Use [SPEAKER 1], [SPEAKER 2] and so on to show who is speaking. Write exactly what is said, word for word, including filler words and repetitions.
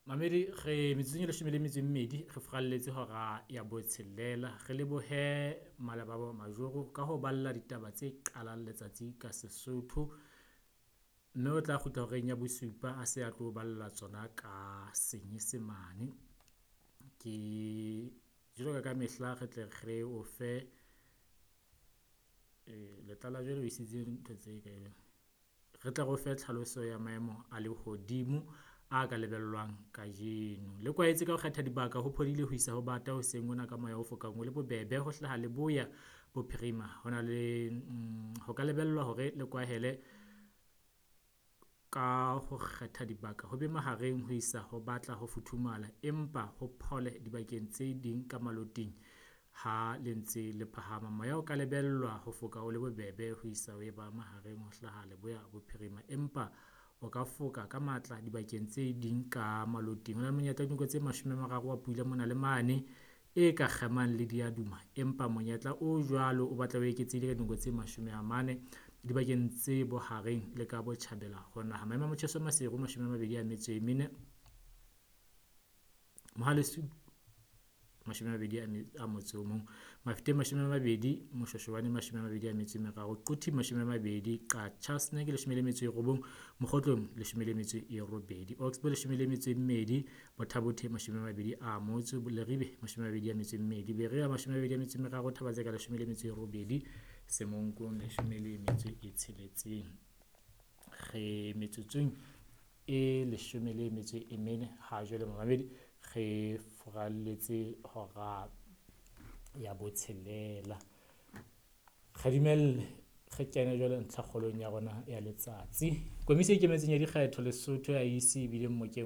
[SPEAKER 1] Mamedi, re metsotsong e leshome le metso e mmedi re furalletse hora ya botshelela. Re lebohe Malebabo Majoro ka ho balla ditaba tse qalang letsatsi ka Sesotho. Mme o tla kgutla horeng ya bosupa a se a tlo balla tsona ka Senyesemane. Ke jwalo ka mehla re tle re o fe letlala jwale o isitse ntho tse kae? Re tle re o fe tlhaloso ya maemo a lehodimo a ka lebellwang kajeno. Le kwaetse ka ho kgetha dibaka ho phodile ho isa ho bata hoseng hona ka moya o fokang o le bobebe ho hlaha leboya bophirima. Ho na le ho ka lebellwa hore le kwahele ka ho kgetha dibaka ho be mahareng ho isa ho batla ho futhumala, empa ho phole dibakeng tse ding ka maloting ha le ntse le phahama. Moya o ka lebellwa ho foka o le bobebe ho isa ho e ba mahareng ho hlaha leboya bophirima, empa o ka foka ka matla dibakeng tse ding ka maloting. Ho na le monyetla wa dinako tse mashome a mararo wa pula mona le mane e ka kgemang le diaduma, empa monyetla o jwalo o batla o eketsehile ka dinako tse mashome a mane dibakeng tse bohareng le ka botjhabela ho naha. Maemo a motjheso Maseru mashome a mabedi a metso e mene, Mohale's Hoek mashome a mabedi a motso o mong, Mafeteng mashome a mabedi, Moshweshwane mashome a mabedi a metso e meraro, Quthing mashome a mabedi, Qacha's Nek leshome le metso e robong, Mokgotlong leshome le metso e robedi, Oxbow leshome le metso e mmedi, Botha Bothe mashome a mabedi a motso, Leribe mashome a mabedi a metso e mmedi, Berea mashome a mabedi a metso e meraro, Thaba-Tseka leshome le metso e robedi, Semonkong leshome le metso e tsheletseng. Re metsotsong e leshome le metso e mene ha jwale momamedi, re furalletse hora ya botshelela. Re dumelle re kene jwale ntlhakgolong ya rona ya letsatsi. Komisi e Ikemetseng ya Dikgetho Lesotho ya I E C e bile mmokeng